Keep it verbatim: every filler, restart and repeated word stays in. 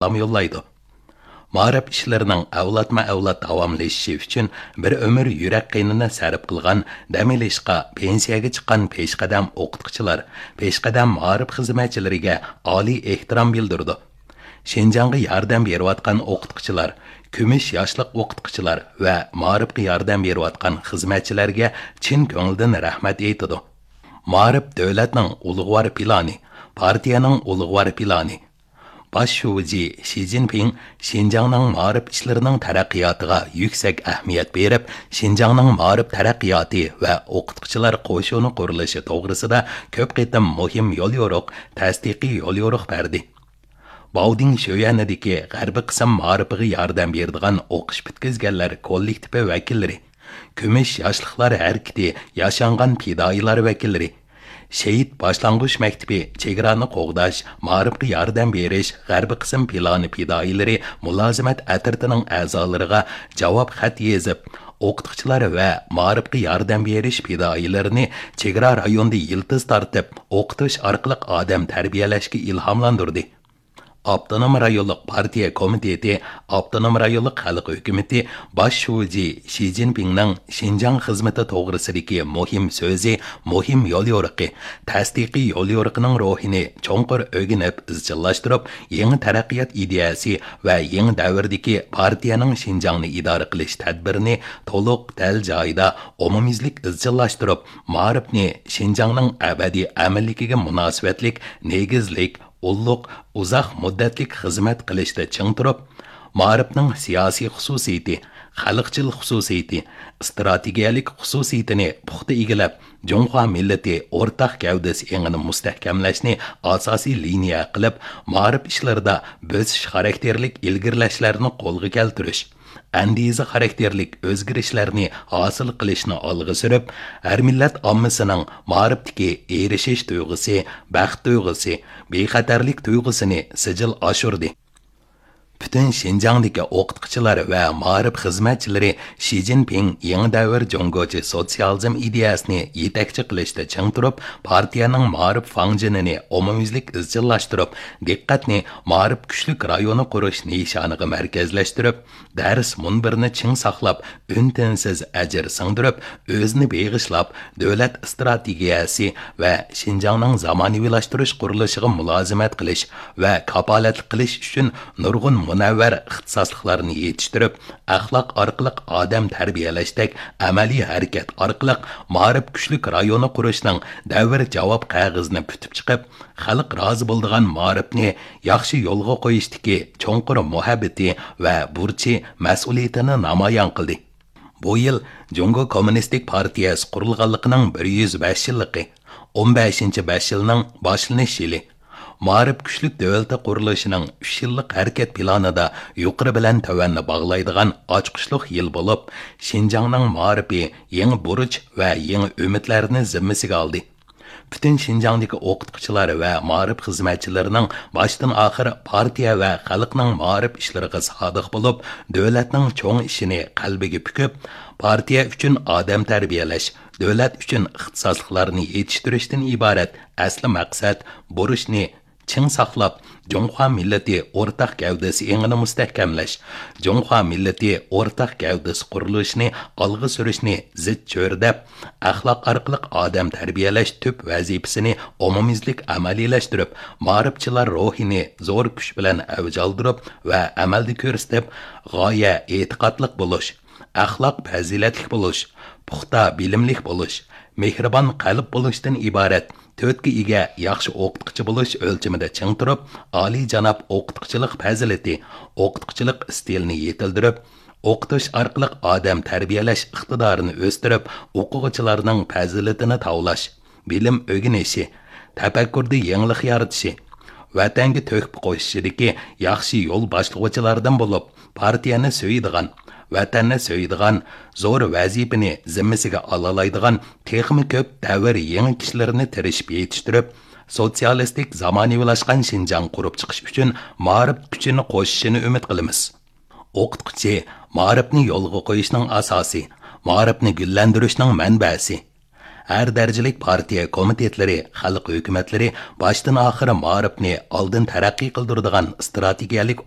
سالام يوللايدۇ. مائارىپ ئىشلىرىنىڭ ئەۋلادمۇ ئەۋلاد داۋاملىشىشى ئۈچۈن بىر ئۆمۈر يۈرەك قېنىنى سەرپ قىلغان، دەم ئېلىشقا پېنسىيەگە چىققان پېشقەدەم ئوقۇتقۇچىلار، پېشقەدەم مائارىپ خىزمەتچىلىرىگە ئالىي ئېھتىرام بىلدۈرىدۇ. شىنجاڭغا ياردەم بېرىۋاتقان ئوقۇتقۇچىلار، كۈمۈش ياشلىق ئوقۇتقۇچىلار ۋە مائارىپقا ياردەم بېرىۋاتقان خىزمەتچىلەرگە چىن كۆڭلىدىن رەھمەت ئېيتىدۇ. مائارىپ دۆلەتنىڭ ئۇلۇغۋار پىلانى، پارتىيەنىڭ ئۇلۇغۋار پىلانى. باش شۇجى شى جىنپىڭ شىنجاڭنىڭ مائارىپ ئىشلىرىنىڭ تەرەققىياتىغا يۈكسەك ئەھمىيەت بېرىپ، شىنجاڭنىڭ مائارىپ تەرەققىياتى ۋە ئوقۇتقۇچىلار قوشۇنى قۇرۇلۇشى توغرىسىدا كۆپ قېتىم مۇھىم يوليورۇق، تەستىقىي يوليورۇق بەردى. باۋدىڭ شۆيەنىدىكى غەربىي قىسىم مائارىپىغا ياردەم بېرىدىغان ئوقۇش پۈتكۈزگەنلەر كوللېكتىپى ۋەكىللىرى، كۈمۈش ياشلىقلار ھەرىكىتى ياشانغان پىدائىيلار ۋەكىللىرى، شېھىت باشلانغۇچ مەكتىپى چېگرانى قوغداش، مائارىپقا ياردەم بېرىش غەربىي قىسىم پىلانى پىدائىيلىرى مۇلازىمەت ئەترىتىنىڭ ئەزالىرىغا جاۋاب خەت يېزىپ، ئوقۇتقۇچىلار ۋە مائارىپقا ياردەم بېرىش پىدائىيلىرىنى چېگرا رايونىدا يىلتىز تارتىپ، ئوقۇتۇش ئارقىلىق ئادەم تەربىيەلەشكە ئىلھاملاندۇردى. ئاپتونوم رايونلۇق پارتىيە كومىتېتى، ئاپتونوم رايونلۇق خەلق ھۆكۈمىتى باش شۇجى شى جىنپىڭنىڭ شىنجاڭ خىزمىتى توغرىسىدىكى مۇھىم سۆزى، مۇھىم يوليورۇقى، تەستىقىي يوليورۇقىنىڭ روھىنى چوڭقۇر ئۆگىنىپ ئىزچىللاشتۇرۇپ، يېڭى تەرەققىيات ئىدىيەسى ۋە يېڭى دەۋردىكى پارتىيەنىڭ شىنجاڭنى ئىدارە قىلىش تەدبىرىنى تولۇق، دەل جايىدا، ئومۇميۈزلۈك ئىزچىللاشتۇرۇپ، مائارىپنى شىنجاڭنىڭ ئەبەدىي ئەمىنلىكىگە مۇناسىۋەتلىك نېگىزلىك، ئۇللۇق، ئۇزاق مۇددەتلىك خىزمەت قىلىشتا چىڭ تۇرۇپ، مائارىپنىڭ سىياسىي خۇسۇسىيىتى، خەلقچىل خۇسۇسىيىتى، ئىستراتېگىيەلىك خۇسۇسىيىتىنى پۇختا ئىگىلەپ، جۇڭخۇا مىللىتى ئورتاق گەۋدىسى ئېڭىنى مۇستەھكەملەشنى ئاساسىي لىنىيە قىلىپ، مائارىپ ئىشلىرىدا بۆسۈش خاراكتېرلىك ئىلگىرىلەشلەرنى قولغا كەلتۈرۈش، ئەندىزە خاراكتېرلىك ئۆزگىرىشلەرنى ھاسىل قىلىشنى ئالغا سۈرۈپ، ھەر مىللەت ئاممىسىنىڭ مائارىپتىكى ئېرىشىش تۇيغۇسى، بەخت تۇيغۇسى، بىخەتەرلىك تۇيغۇسىنى سىجىل ئاشۇردى. پۈتۈن شىنجاڭدىكى ئوقۇتقۇچىلار ۋە مائارىپ خىزمەتچىلىرى شى جىنپىڭ يېڭى دەۋر جۇڭگوچە سوتسىيالىزم ئىدىيەسىنى يېتەكچى قىلىشتا چىڭ تۇرۇپ، پارتىيەنىڭ مائارىپ فاڭجېنىنى ئومۇميۈزلۈك ئىزچىللاشتۇرۇپ، دىققەتنى مائارىپ كۈچلۈك رايونى قۇرۇش نىشانىغا مەركەزلەشتۈرۈپ، دەرس مۇنبىرىنى چىڭ ساقلاپ، ئۈن-تىنسىز ئەجىر سىڭدۈرۈپ، ئۆزىنى بېغىشلاپ، دۆلەت ئىستراتېگىيەسى ۋە شىنجاڭنىڭ زامانىۋىلاشتۇرۇش قۇرۇلۇشىغا مۇلازىمەت قىلىش ۋە كاپالەتلىك قىلىش ئۈچۈن نۇرغۇن مۇنەۋۋەر ئىختىساسلىقلارنى يېتىشتۈرۈپ، ئەخلاق ئارقىلىق ئادەم تەربىيەلەشتەك ئەمەلىي ھەرىكەت ئارقىلىق مائارىپ كۈچلۈك رايونى قۇرۇشنىڭ دەۋر جاۋاب قەغىزىنى پۈتۈپ چىقىپ، خەلق رازى بولىدىغان مائارىپنى ياخشى يولغا قويۇشتىكى چوڭقۇر مۇھەببىتى ۋە بۇرچى، مەسئۇلىيىتىنى نامايان قىلدى. بۇ يىل جۇڭگو كوممۇنىستىك پارتىيەسى قۇرۇلغانلىقىنىڭ بىر يۈز بەش يىللىقى، ئون بەشىنچى بەش يىلنىڭ باشلىنىش يىلى. مائارىپ كۈچلۈك دۆلىتى قۇرۇلۇشىنىڭ ئۈچ يىللىق ھەرىكەت پىلانىدا يۇقىرى بىلەن تۆۋەننى باغلايدىغان ئاچقۇچلۇق يىل بولۇپ، شىنجاڭنىڭ مائارىپى يېڭى بۇرچ ۋە يېڭى ئۈمىدلەرنى زىممىسىگە ئالدى. پۈتۈن شىنجاڭدىكى ئوقۇتقۇچىلار ۋە مائارىپ خىزمەتچىلىرىنىڭ باشتىن ئاخىر پارتىيە ۋە خەلقنىڭ مائارىپ ئىشلىرىغا سادىق بولۇپ، دۆلەتنىڭ چوڭ ئىشىنى قەلبىگە پۈكۈپ، پارتىيە ئۈچۈن ئادەم تەربىيەلەش، دۆلەت ئۈچۈن ئىختىساسلىقلارنى يېتىشتۈرۈشتىن ئىبارەت ئەسلى مەقسەت، بۇرچنى چىڭ ساقلاپ، جۇڭخۇا مىللىتى ئورتاق گەۋدىسى ئېڭىنى مۇستەھكەملەش، جۇڭخۇا مىللىتى ئورتاق گەۋدىسى قۇرۇلۇشىنى ئالغا سۈرۈشنى زىچ چۆرىدەپ، ئەخلاق ئارقىلىق ئادەم تەربىيەلەش تۈپ ۋەزىپىسىنى ئومۇميۈزلۈك ئەمەلىيلەشتۈرۈپ، مائارىپچىلار روھىنى زور كۈچ بىلەن ئەۋج ئالدۇرۇپ ۋە ئەمەلدە كۆرسىتىپ، غايە ئېتىقادلىق بولۇش، ئەخلاق پەزىلەتلىك بولۇش، پۇختا بىلىملىك بولۇش، مېھرىبان قەلب بولۇشتىن ئىبارەت تۆتكە ئىگە ياخشى ئوقۇتقۇچى بولۇش ئۆلچىمىدە چىڭ تۇرۇپ، ئالىيجاناب ئوقۇتقۇچىلىق پەزىلىتى، ئوقۇتقۇچىلىق ئىستىلىنى يېتىلدۈرۈپ، ئوقۇتۇش ئارقىلىق ئادەم تەربىيەلەش ئىقتىدارىنى ئۆستۈرۈپ، ئوقۇغۇچىلارنىڭ پەزىلىتىنى تاۋلاش، بىلىم ئۆگىنىشى، تەپەككۇردە يېڭىلىق يارىتىشى، ۋەتەنگە تۆھپە قوشۇشىدىكى ياخشى يول باشلىغۇچىلاردىن بولۇپ، پارتىيەنى سۆيىدىغان، ۋەتەننى سۆيىدىغان، زور ۋەزىپىنى زىممىسىگە ئالالايدىغان تېخىمۇ كۆپ دەۋر يېڭى كىشىلىرىنى تىرىشىپ يېتىشتۈرۈپ، سوتسىيالىستىك زامانىۋىلاشقان شىنجاڭ قۇرۇپ چىقىش ئۈچۈن مائارىپ كۈچىنى قوشۇشىنى ئۈمىد قىلىمىز. ئوقۇتقۇچى مائارىپنى يولغا قويۇشنىڭ ئاساسى، مائارىپنى گۈللەندۈرۈشنىڭ مەنبەسى. ھەر دەرىجىلىك پارتىيە كومىتېتلىرى، خەلق ھۆكۈمەتلىرى باشتىن ئاخىر مائارىپنى ئالدىن تەرەققىي قىلدۇرىدىغان ئىستراتېگىيەلىك